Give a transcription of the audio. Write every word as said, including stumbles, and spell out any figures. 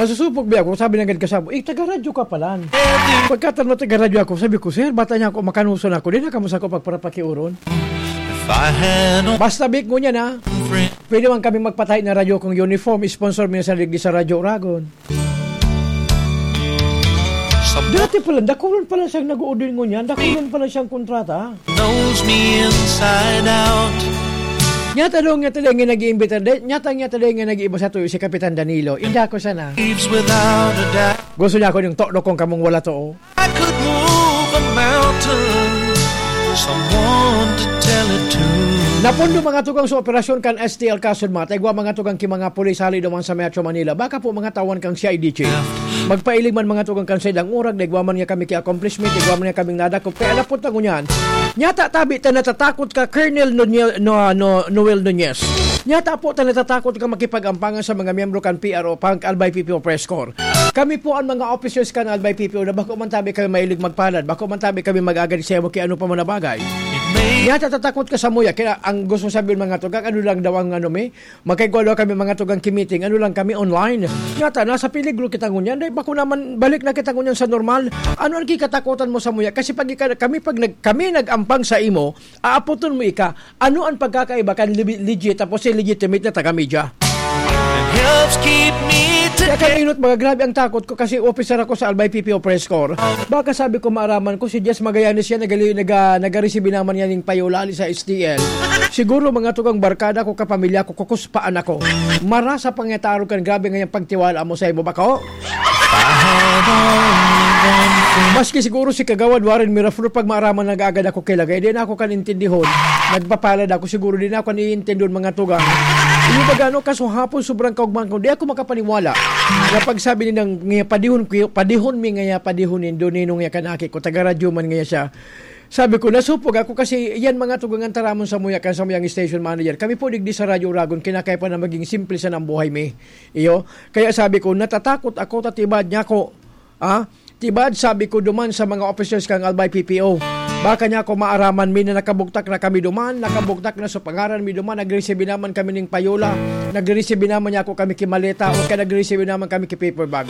Nasusupog ba ako? Sabi ng gad kasabo, "Eh, taga-radyo ka pala." Pagkatan mo, "Taga-radyo ako." Sabi ko, "Sir, bata niya ako, makanuson ako. Di na kamo sa ako pagparapakiuron." If I had no Basta, Bik, ngunyan, ha? Friend. Pwede man kami magpatahi na radyo kung uniform. Sponsor mi na sa digdi sa Radyo Uragon. Sa Dati pala, dakulon pala siyang nag-uudin ngunyan. Dakulon pala siyang kontrata. Knows me inside out. Nyata daw, nyata daw nga nag-iimbita, de-, nyata, nyata daw nga nag-iiba sa tuyo si Kapitan Danilo. Inda ko sana. Leaves without a doubt. Gusto niya ako yung tokdo kong kamong wala to, oh. I could move a mountain. Someone to tell it to. Napundo, mga tugang, sa operasyon kan S T L Kasod, mga taigwa, mga tugang, ki mga pulis hali duman sa Metro Manila. Baka po mga tawan kang C I D chief. Magpailig man, mga tugang, kan saindang urag, daigwa man niya kami ki accomplishment, daigwa man niya kaming nadakop. Kaya napot na ngunyan. Nyata tabi ta natatakot ka, Colonel Nunez, no, no, Noel Nunez. Nyata po ta natatakot ka makipag-ampangan sa mga miyembro kan P R O, pang Albay P P O Press Corps. Kami po ang mga officers kan Albay P P O na bako man tabi kami mahilig magpalad, bako man tabi kami mag-agad sa imo ki ano pa man na bagay. Nyata tatakot ka sa muya, kaya ang gusto sabihin, mga tugang, ano lang daw ang ano mi, magkaigwa daw kami, mga tugang, ki meeting, ano lang kami online. Nyata, nasa peligro kita ngunyan, dahil bako naman balik na kita ngunyan sa normal. Ano ang kikatakutan mo sa muya? Kasi pag ika-, kami, pag nag-, kami nag-ampang sa imo, aapoton mo ika. Ano ang pagkakaiba kan lebi-, legit tapos illegitimate na taga-media? It helps keep me Kaya together. Kaminot, mga grabe ang takot ko kasi officer ako sa Albay P P O Press Corps. Baka sabi ko maaraman ko, si Jess Magallanes yan, nagali-, naga-, nagaresibi naman yan yung payolali sa S T L. Siguro, mga tugang, barkada ko, kapamilya ko, kukuspaan ako. Marasa pang yataro kan grabe ngayang pagtiwala mo sa imo, bako? Maski siguro si Kagawad Warren Miraflor, pag maaraman nag-agad ako kilagay, di na ako kan intindihon. Nagpapalad ako, siguro di na ako kan iintindon, mga tugang. Yung baga, ano, kaso hapon, sobrang kaugmahan ko, di ako makapaniwala na pagsabi nilang, "Ngaya padihon ko, padihon mi ngaya, padihon nindo, ninong ya kan aki ko, taga-radyo man ngaya siya." Sabi ko, nasupog ako kasi yan, mga tugang, ang taramon sa muya, kan sa muyang station manager. Kami po digdi sa Radyo Uragon, kinakaya pa na maging simple sa nang buhay mi. Iyo, kaya sabi ko, natatakot ako, tatibad niya ako. Ah, tibad, sabi ko duman sa mga officers kang Albay P P O. Baka niya ako maaraman mi na nakabugtak na kami duman, nakabugtak na sa pangaran mi duman, nagreceive naman kami ning payola, nagreceive naman niya ako kami ki maleta, o kaya nagreceive naman kami ki paper bag.